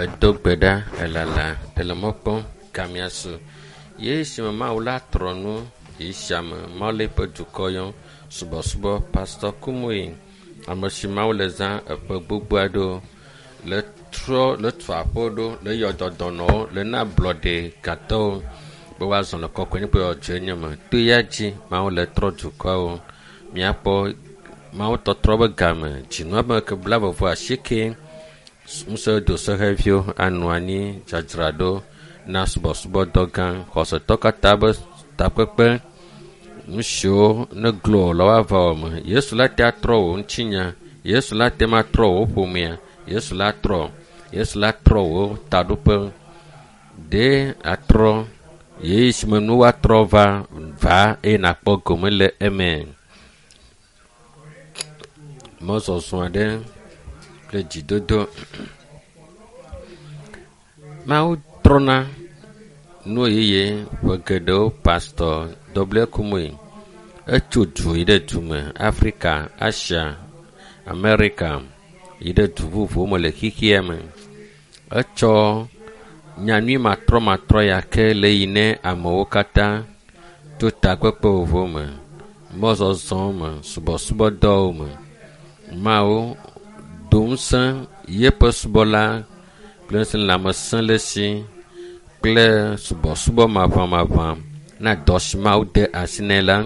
Edo gbe ɖa elala ele mɔ kpɔm gamea su ye esime Mawu la trɔ nu yi siame Mawu le eƒe dukɔ yɔm subɔsubɔ Pastor Kumuyi ame si Mawu le zã eƒe gbogbo aɖewo le trɔ le tu aƒewo ɖo le yɔ dɔ dɔnɔwo le na ablɔɖe gatɔwo be woazɔ le kɔkɔenye kple dzɔdzɔenye me. To ya dzi Mawu le trɔ dukɔwo. Míakpɔ Mawu tɔtrɔ be game dzinua be ke 89 ŋusẽ doseheviwo anɔ anyi dzadzraɖo na subɔsubɔdɔ gã xɔsetɔ katã be takpekpe nu siwo ne glo le woava wɔ me. Yesu la te atrɔ wò ŋutinya. Yesu la te ma trɔ wò ƒomea. Yesu la trɔ. Yesu la trɔ wò taɖoƒe. Ɖe atrɔ ɣeyiɣi si me nuwo atrɔ va va eye nakpɔ gome le eme. Mɔzɔzɔ aɖe kple dzidodo. Mawu trɔna nu yeye ƒe geɖewo Pastor W. Kumuyi etso du yi ɖe du me Afrika, Asia, Amerika yi ɖe du vovovowo me le xexea me. Etsɔ nyanyui matrɔmatrɔ ya ke le yi ne amewo katã to takpekpe vovovowo me, mɔzɔzɔ me, subɔsubɔdɔwo me. Mawu do ŋusẽ yeƒe subɔla kple ŋusẽ lãmesẽ le esi kple subɔsubɔ maʋamaʋã na dɔ si Mawu de asi nɛ la.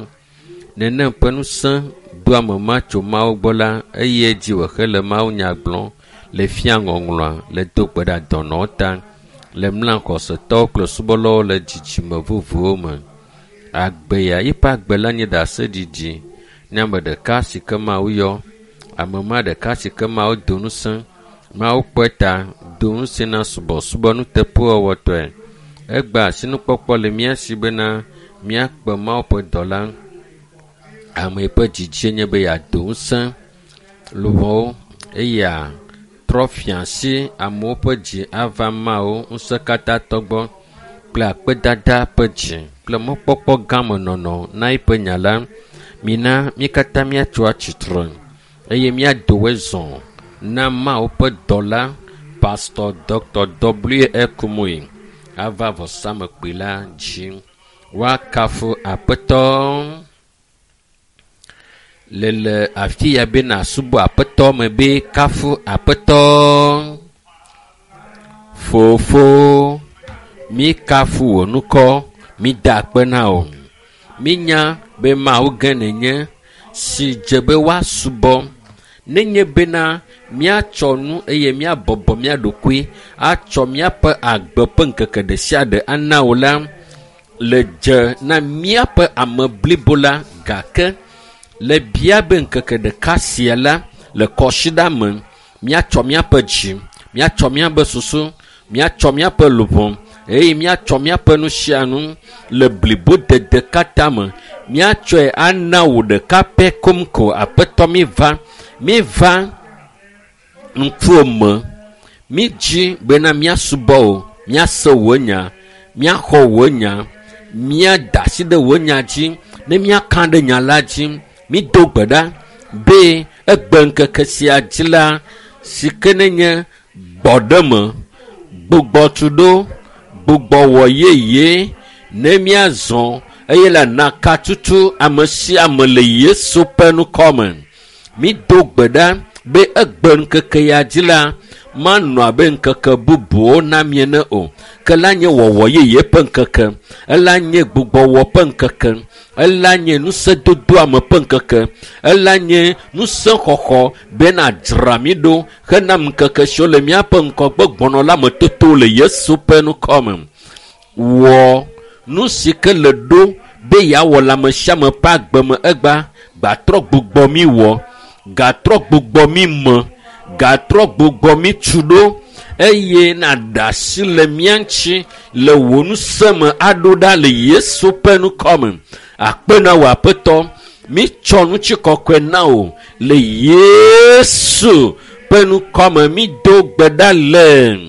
Nenem ƒe ŋusẽ do ame ma tso Mawu gbɔ la eye edzi wòhe le Mawu nya gblɔm le fia ŋɔŋlɔa le do gbe ɖa dɔnɔwo ta le mla xɔsetɔwo kple subɔlawo le dzidzime vovovowo me. Agbe ya yiƒe agbe la nye ɖaseɖiɖi ne ame ɖeka si ke Mawu yɔ. Ame ma ɖeka si ke Mawu do ŋusẽ. Mawu kpɔe ta do ŋusẽ na subɔsubɔ nuteƒewɔwɔtɔe. Egbe asinukpɔkpɔ le mía si bena míakpe Mawu ƒe dɔla. Ame yi ƒe dzidzie nye be yeado ŋusẽ luʋɔwo eye trɔ fia asi amewo ƒe dzi ava Mawu ŋusẽkatãtɔ gbɔ kple akpedada ƒe dzi kple mɔkpɔkpɔ gã me nɔnɔ na eƒe nya la. Mina mí katã míatso atsitre eye míado zɔ na Mawu ƒe dɔla Pastor Dr. W. E. Kumuyi ava vɔsamekpui la dzi. Woakafu Aƒetɔ le le afi ya be nàsubɔ Aƒetɔ me be kafu Aƒetɔ. Fofo, míkafu wò ŋkɔ, mída akpe na wò. Mínya be Mawu gã nènye si dze be woasubɔ. Nenye bena míatsɔ nu eye míabɔbɔ mía ɖokui atsɔ míaƒe agbe ƒe ŋkeke ɖe sia ɖe ana wò la, le dze na míaƒe ame blibo la gake le bia be ŋkeke ɖeka sia la le kɔsiɖa me míatsɔ míaƒe dzi, míatsɔ míaƒe susu, míatsɔ míaƒe luʋɔ eye míatsɔ míaƒe nu sia nu le blibodede katã me míatsɔe ana wò ɖeka pɛ kom ko aƒetɔ míva míva ŋkuwò me mídzi bena míasubɔ wò míase wò nya míaxɔ wò nya míada asi ɖe wò nya dzi ne míaka ɖe nya la dzi mído gbe ɖa be egbe ŋkeke sia dzi la si ke nenye gbɔɖeme gbugbɔtuɖo gbugbɔwɔ yeye ne míazɔ eye le naka tutu ame sia ame le Yesu ƒe ŋkɔ me. Mído gbe ɖa be egbe ŋkeke ya dzi la manɔ abe ŋkeke bubuwo na mí ene o ke la nye wɔwɔ yeye ƒe ŋkeke ela nye gbugbɔwɔ ƒe ŋkeke ela nye ŋusẽdodoame ƒe ŋkeke ela nye ŋusẽxɔxɔ bena dzra mí ɖo hena ŋkeke siwo le míaƒe ŋgɔgbe gbɔnɔ la me toto le Yesu ƒe ŋkɔ me. Wɔ nu si ke le ɖo be yeawɔ le ame sia ame ƒe agbe me egba gatrɔ gbugbɔ mí wɔ gatrɔ gbugbɔ mí me gatrɔ gbugbɔ mí tu ɖo eye nàɖe asi le mía ŋuti le wò ŋusẽ me aɖo ɖa le Yesu ƒe ŋkɔ me. Akpe na wò Aƒetɔ, mítsɔ ŋutikɔkɔe na wò le Yesu ƒe ŋkɔ me mído gbe ɖa le.